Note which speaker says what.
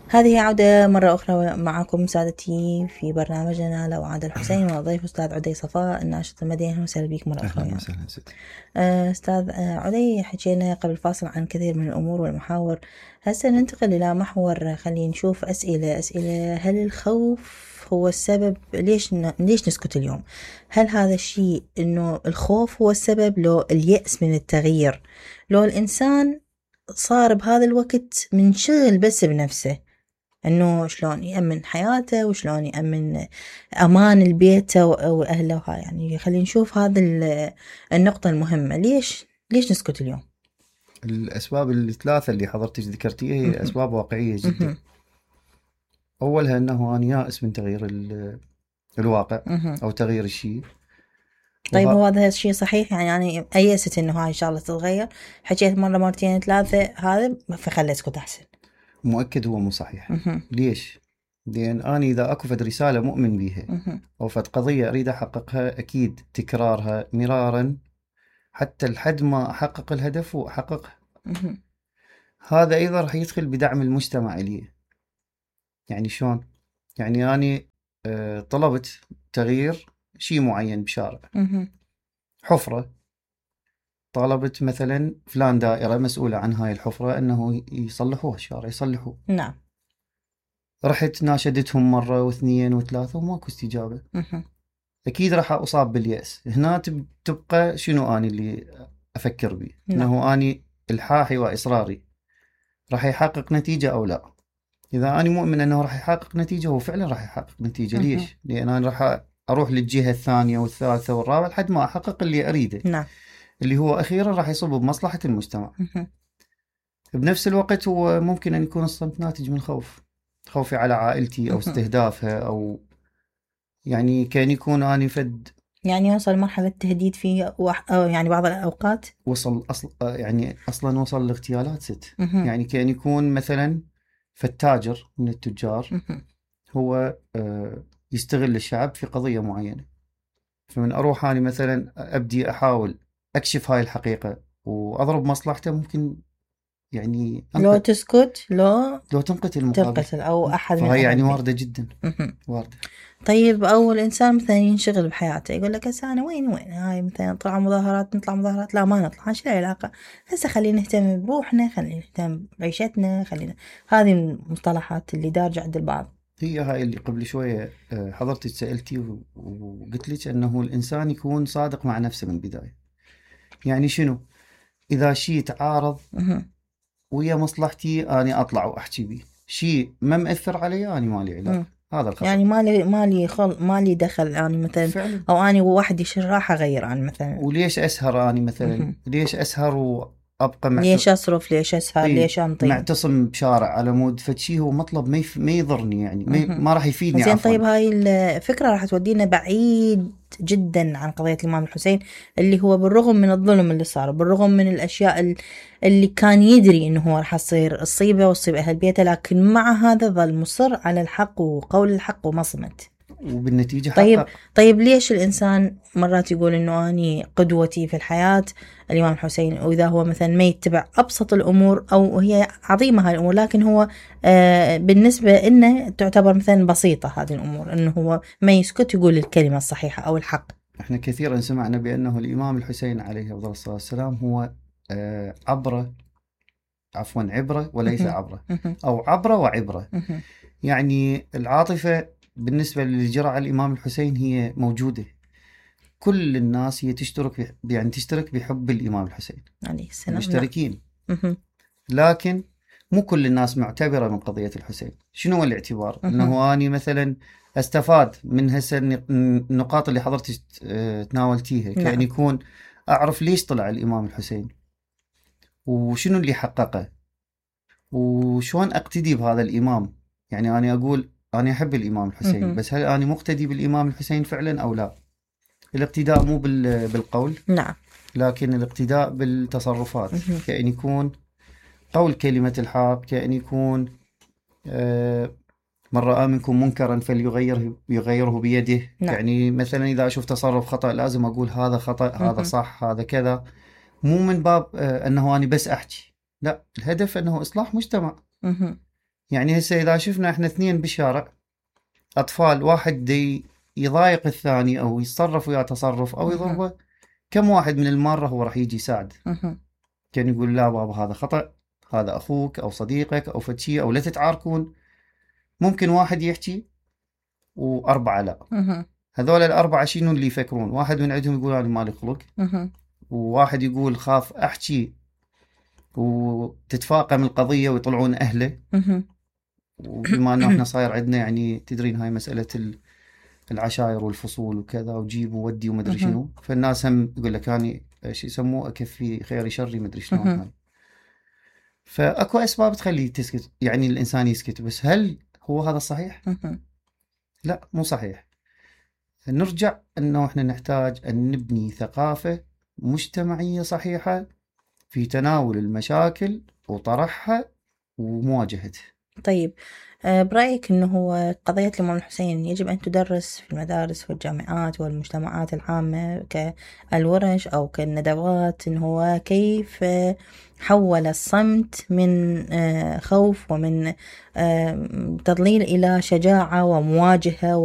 Speaker 1: هذه عودة مرة أخرى معكم سادتي في برنامجنا لو عاد الحسين، وضيف أستاذ عدي صفاء الناشط المدني. وسهلا بك مرة أخرى.
Speaker 2: أهلا وسهلا ستي.
Speaker 1: أستاذ عدي، حكينا قبل الفاصل عن كثير من الأمور والمحاور. هسه ننتقل إلى محور، خلينا نشوف أسئلة. هل الخوف هو السبب؟ ليش نسكت اليوم؟ هل هذا الشيء إنه الخوف هو السبب، لو اليأس من التغيير، لو الإنسان صار بهذا الوقت منشغل بس بنفسه، انه شلون يأمن حياته وشلون يأمن امان البيت واهله؟ يعني خلينا نشوف هذا النقطة المهمة. ليش نسكت اليوم؟
Speaker 2: الأسباب الثلاثة اللي حضرتك ذكرتيها هي أسباب واقعية جدا. أولها أنه أنا يائس من تغيير الواقع أو تغيير الشيء.
Speaker 1: طيب هو هذا الشيء صحيح؟ يعني أيست إنه هاي الشغلة تتغير، حكيت مرة مرتين ثلاثة هذا فخلي اسكت أحسن.
Speaker 2: مؤكد هو مو صحيح. ليش؟ لأن أنا إذا أكو فد رسالة مؤمن بيها أو فد قضية أريد أحققها، أكيد تكرارها مرارا حتى لحد ما أحقق الهدف وأحققها. هذا أيضا رح يدخل بدعم المجتمع لي. يعني شلون؟ يعني أنا طلبت تغيير شيء معين بشارع، حفرة، طلبت مثلا فلان دائرة مسؤولة عن هاي الحفرة أنه يصلحوها الشارع، يصلحوه.
Speaker 1: نعم.
Speaker 2: رحت ناشدتهم مرة واثنين وثلاثة وماكو استجابة. أكيد راح أصاب باليأس. هنا تبقى شنو أنا اللي أفكر به؟ أنه أنا الحاحي وإصراري راح يحقق نتيجة أو لا. إذا أنا مؤمن أنه راح يحقق نتيجة، هو فعلا راح يحقق نتيجة. ليش؟ لأن أنا راح أروح للجهة الثانية والثالثة والرابعة لحد ما أحقق اللي أريده.
Speaker 1: نعم.
Speaker 2: اللي هو أخيرا راح يصب بمصلحة المجتمع. بنفس الوقت هو ممكن أن يكون الصمت ناتج من خوفي على عائلتي أو استهدافها، أو يعني كان يكون أنا
Speaker 1: يعني وصل مرحلة تهديد فيه يعني بعض الأوقات
Speaker 2: وصل يعني أصلا وصل لاغتيالات ست. يعني كان يكون مثلا فالتاجر من التجار هو يستغل الشعب في قضية معينة، فمن أروح أنا مثلا أبدي أحاول أكشف هاي الحقيقة وأضرب مصلحته، ممكن يعني
Speaker 1: لو تسكت لو
Speaker 2: تنقتل المقابل،
Speaker 1: تنقتل أو أحد من
Speaker 2: فهي يعني
Speaker 1: أهل
Speaker 2: واردة جدا. واردة.
Speaker 1: طيب أول إنسان مثلا ينشغل بحياته يقول لك هسه أنا وين هاي مثلا نطلع مظاهرات، لا ما نطلع، شو العلاقة؟ هسه خلينا نهتم بروحنا، خلينا نهتم بعيشتنا، هذه المصطلحات اللي دارجة عند البعض.
Speaker 2: هي هاي اللي قبل شوية حضرتك سألتي وقلت لك أنه الإنسان يكون صادق مع نفسه من البداية. يعني شنو؟ إذا شيء تعارض ويا مصلحتي أنا أطلع وأحكي بيه، شيء ما مأثر علي أنا مالي علاقة. هذا الخطأ.
Speaker 1: يعني مالي دخل يعني مثلا فعلا. أو أنا وواحد راح أغير عن مثلا.
Speaker 2: وليش أسهر أنا مثلا؟ ليش أسهر وأبقى
Speaker 1: ليش أصرف؟ ليش أسهر؟ ليش أنطي؟
Speaker 2: معتصم بشارع على مود فشي هو مطلب ما يضرني، يعني ما راح يفيدني.
Speaker 1: زين طيب هاي الفكرة راح تودينا بعيد جدا عن قضية الإمام الحسين، اللي هو بالرغم من الظلم اللي صار، بالرغم من الأشياء اللي كان يدري إنه هو راح تصيبه وتصيب أهل بيته، لكن مع هذا ظل مصر على الحق وقول الحق وما صمت،
Speaker 2: وبالنتيجة
Speaker 1: طيب ليش الإنسان مرات يقول إنه أني قدوتي في الحياة الإمام الحسين، وإذا هو مثلا ما يتبع أبسط الأمور، أو هي عظيمة هاي الأمور لكن هو بالنسبة إنه تعتبر مثلا بسيطة هذه الأمور، إنه هو ما يسكت يقول الكلمة الصحيحة أو الحق.
Speaker 2: إحنا كثيرا سمعنا بأنه الإمام الحسين عليه الصلاة والسلام هو عبرة وليس عبرة، أو عبرة وعبرة. يعني العاطفة بالنسبة اللي جرى على الإمام الحسين هي موجودة. كل الناس هي تشترك بحب الإمام الحسين عليه السلام، مشتركين. لكن مو كل الناس معتبرة من قضية الحسين. شنو هو الاعتبار؟ أنه أنا مثلا أستفاد من هسه النقاط اللي حضرتك تناولتيها. كأن يكون أعرف ليش طلع الإمام الحسين، وشنو اللي حققه، وشون أقتدي بهذا الإمام. يعني أنا أقول أنا أحب الإمام الحسين، بس هل أنا مقتدي بالإمام الحسين فعلا أو لا؟ الاقتداء مو بالقول،
Speaker 1: نعم،
Speaker 2: لكن الاقتداء بالتصرفات. كأن يكون قول كلمة الحق، كأن يكون من رأى منكم منكرا فليغيره بيده. نعم. يعني مثلا إذا أشوف تصرف خطأ لازم أقول هذا خطأ، هذا صح، هذا كذا. مو من باب أنه أنا بس أحكي، لا، الهدف أنه إصلاح مجتمع. يعني هسه إذا شفنا إحنا اثنين بالشارع أطفال، واحد دي يضايق الثاني أو يتصرف وياه تصرف أو يضربه، كم واحد من المارة هو راح يجي يساعد؟ كان يقول لا بابا هذا خطأ، هذا أخوك أو صديقك أو فتشي، أو لا تتعاركون. ممكن واحد يحكي وأربعة لا. هذول الأربعة شنو اللي يفكرون؟ واحد من عندهم يقول أنا مالي خلق، وواحد يقول خاف أحكي وتتفاقم القضية ويطلعون أهله. وبما أنه إحنا صاير عندنا يعني تدرين هاي مسألة العشائر والفصول وكذا وجيب وودي ومدري شنو، فالناس هم يقول لك أنا شو يسموه أكفي خيري شري مدري شنو هاي. فأكو أسباب تخلي تسكت، يعني الإنسان يسكت، بس هل هو هذا صحيح؟ لا مو صحيح. نرجع أنه إحنا نحتاج أن نبني ثقافة مجتمعية صحيحة في تناول المشاكل وطرحها ومواجهتها.
Speaker 1: طيب برأيك أنه هو قضية الإمام الحسين يجب أن تدرس في المدارس والجامعات والمجتمعات العامة كالورش أو كالندوات، أنه هو كيف حول الصمت من خوف ومن تضليل إلى شجاعة ومواجهة